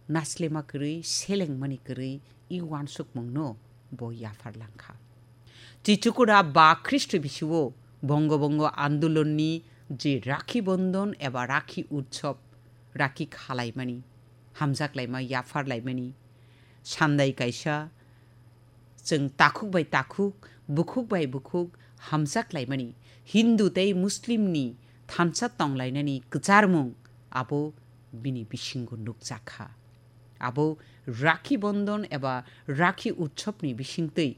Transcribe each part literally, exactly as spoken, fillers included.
naslema kwrwi, selengmani kwrwi i uansukmungno bo yaphar langkha. Chichukura ba Khristo bisio bongo bongo andolonni je Rakhi Bondon eba Rakhi Utsob, rakhi khalaimani, hamjaklaima, yapharlaimani, sandai kaisa, chwng takhuk bai takhuk, bukhuk bai bukhuk hamjaklaimani, Hindu tei Muslimni thansa tonglainani kwcharmung abo bini bisingo nukjakha. Abo Rakhi Bondon eba Rakhi Utsobni bisingtwi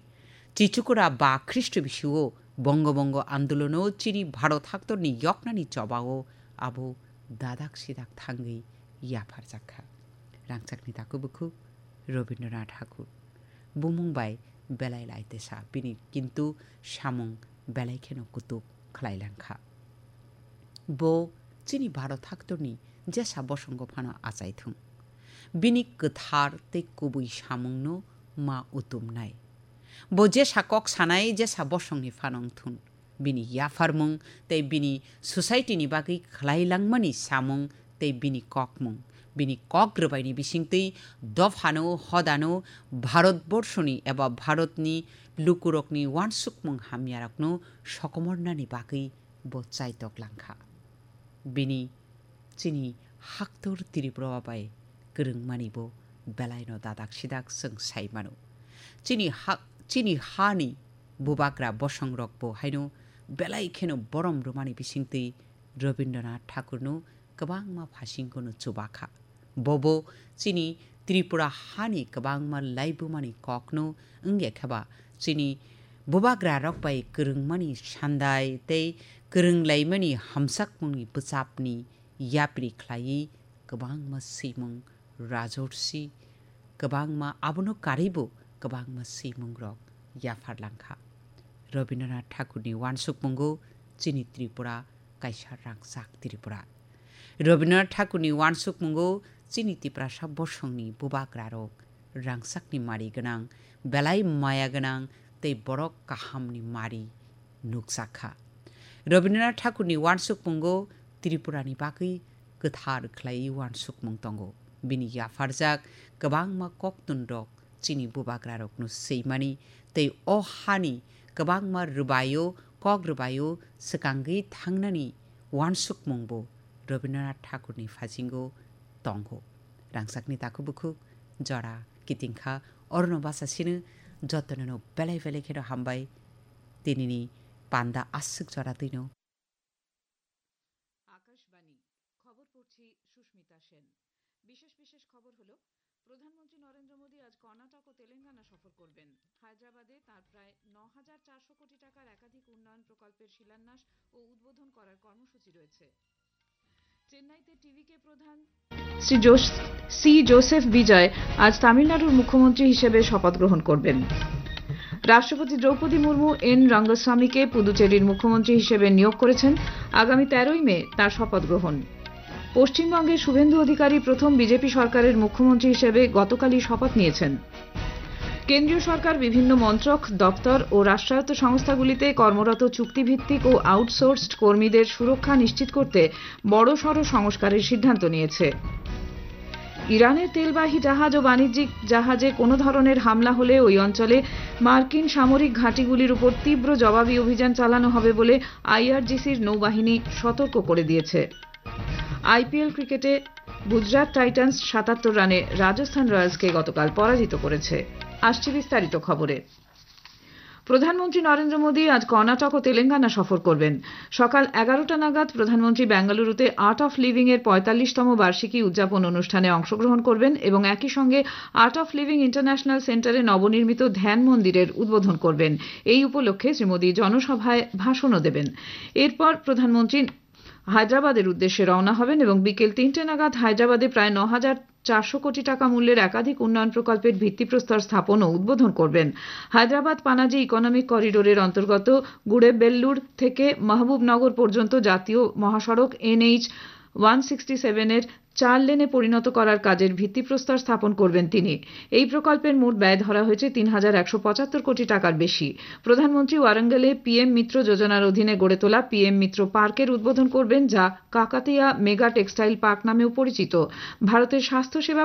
Chichukura ba Khristo bisio bongo bongo andolono chini Bharot haktorni yoknani chobao abo dadak sidak thangwi yapharjakha. Rangchakni takhuk bukhuk Rabindranath Thakur. Bumung bai belai laitesa bini, kintu samung belai kheno kutuk khlai langkha. Bo chini Bharot haktorni jesa bosongo phano achai thung. Bini kwthar tei kubui samungno ma utumnai. Bo jesa kok sanai, jesa bosongni phanang thun. Bini yapharmung tei bini society ni bagwi khlai langmani samung tei bini kokmung, bini kok rwbaini bisingtwi dophano, hodano, Bharat borshoni eba Bharatni lukurokni uansukmung hamyarokno sokomornani bagwi bo chaitok langkha. Bini chini haktor Tripura bai kwrwngmani bo belaino dadak sidak chwng sai mano. Chini ha, chini hani bubagra bosongrok bo haino belai kheno borom rwmani bisingtwi Rabindranath Thakurno kwbangma phasingkono chubakha. Bobo chini Tripura hani kwbangma laibumani kokno wngya kheba chini bubagrarok bai kwrwngmani sandai tei kwrwnglaimani hamjakmungni bwchapni yapri khlaiwi kwbangma swimung rajorsi, kwbangma abono karwibo kwbangma swimungrok yaphar langkha. Rabindranath Thakurni uansukmungo chini Tripura kaisa rangchak Tripura. Rabindranath Thakurni uansukmungo chini Tiprasa bosongni bubagrarok rangchakni mari gwnang, belai maya gwnang tei borok kahamni mari nukjakha. Rabindranath Thakurni uansukmungo Tripurani bagwi kwthar khlaiwi uansukmung tongo. Bini yapharjak kwbangma koktwmrok chini bubagrarokno swimani tei o hani kwbangma rwbaio, kok rwbaio swkangwi thangnani uansukmungbo Rabindranath Thakurni phasingo tongo. Rangchakni takhuk bukhuk jora kitingkha, orono bachasino jotonono belai belai kheno hambai. Tinini panda aswk jora twino. Akashvani, খবর পড়ছি সুস্মিতা সেন। বিশেষ বিশেষ খবর হলো, প্রধানমন্ত্রী নরেন্দ্র মোদী আজ কর্ণাটক ও তেলেঙ্গানা সফর করবেন। হায়দ্রাবাদে তাঁর প্রায় ন হাজার চারশো কোটি টাকার একাধিক উন্নয়ন প্রকল্পের শিলান্যাস ও উদ্বোধন করার কর্মসূচি রয়েছে। চেন্নাইতে টিভিকে প্রধান শ্রী জোস-, সি জোসেফ বিজয় আজ তামিলনাড়ুর মুখ্যমন্ত্রী হিসেবে শপথ গ্রহণ করবেন। রাষ্ট্রপতি দ্রৌপদী মুর্মু এন রঙ্গস্বামীকে পুদুচেরির মুখ্যমন্ত্রী হিসেবে নিয়োগ করেছেন। আগামী তেরোই মে তাঁর শপথ গ্রহণ। পশ্চিমবঙ্গে শুভেন্দু অধিকারী প্রথম বিজেপি সরকারের মুখ্যমন্ত্রী হিসেবে গতকালই শপথ নিয়েছেন। কেন্দ্রীয় সরকার বিভিন্ন মন্ত্রক, দপ্তর ও রাষ্ট্রায়ত্ত সংস্থাগুলিতে কর্মরত চুক্তিভিত্তিক ও আউটসোর্সড কর্মীদের সুরক্ষা নিশ্চিত করতে বড়সড় সংস্কারের সিদ্ধান্ত নিয়েছে। ইরানের তেলবাহী জাহাজ ও বাণিজ্যিক জাহাজে কোনো ধরনের হামলা হলে ওই অঞ্চলে মার্কিন সামরিক ঘাঁটিগুলির উপর তীব্র জবাবি অভিযান চালানো হবে বলে আইআরজিসির নৌবাহিনী সতর্ক করে দিয়েছে। আইপিএল ক্রিকেটে গুজরাট টাইটান্স সাতাত্তর রানে রাজস্থান রয়্যালসকে গতকাল পরাজিত করেছে। আসছি বিস্তারিত খবরে। প্রধানমন্ত্রী নরেন্দ্র মোদী আজ কর্ণাটক ও তেলেঙ্গানা সফর করবেন। সকাল এগারোটা নাগাদ প্রধানমন্ত্রী বেঙ্গালুরুতে আর্ট অফ লিভিং এর পঁয়তাল্লিশতম বার্ষিকী উদযাপন অনুষ্ঠানে অংশগ্রহণ করবেন এবং একই সঙ্গে আর্ট অফ লিভিং ইন্টারন্যাশনাল সেন্টারে নবনির্মিত ধ্যান মন্দিরের উদ্বোধন করবেন। এই উপলক্ষে শ্রী মোদী জনসভায় ভাষণও দেবেন। এরপর প্রধানমন্ত্রী হায়দ্রাবাদের উদ্দেশ্যে রওনা হবেন এবং বিকেল তিনটে নাগাদ হায়দ্রাবাদে প্রায় ন হাজার চারশো কোটি টাকা মূল্যের একাধিক উন্নয়ন প্রকল্পের ভিত্তিপ্রস্তর স্থাপন ও উদ্বোধন করবেন। হায়দ্রাবাদ পানাজি ইকোনমিক করিডোরের অন্তর্গত গুড়েবেল্লুর থেকে মাহবুবনগর পর্যন্ত জাতীয় মহাসড়ক এনএইচ ওয়ান সিক্সটি সেভেন এর চার লেনে পরিণত করার কাজের ভিত্তিপ্রস্তর স্থাপন করবেন তিনি। এই প্রকল্পের মোট ব্যয় ধরা হয়েছে তিন হাজার একশো পঁচাত্তর কোটি টাকার বেশি। প্রধানমন্ত্রী ওয়ারাঙ্গলে পিএম মিত্র যোজনার অধীনে গড়ে তোলা পিএম মিত্র পার্কের উদ্বোধন করবেন, যা কাকাতিয়া মেগা টেক্সটাইল পার্ক নামেও পরিচিত। ভারতের স্বাস্থ্যসেবা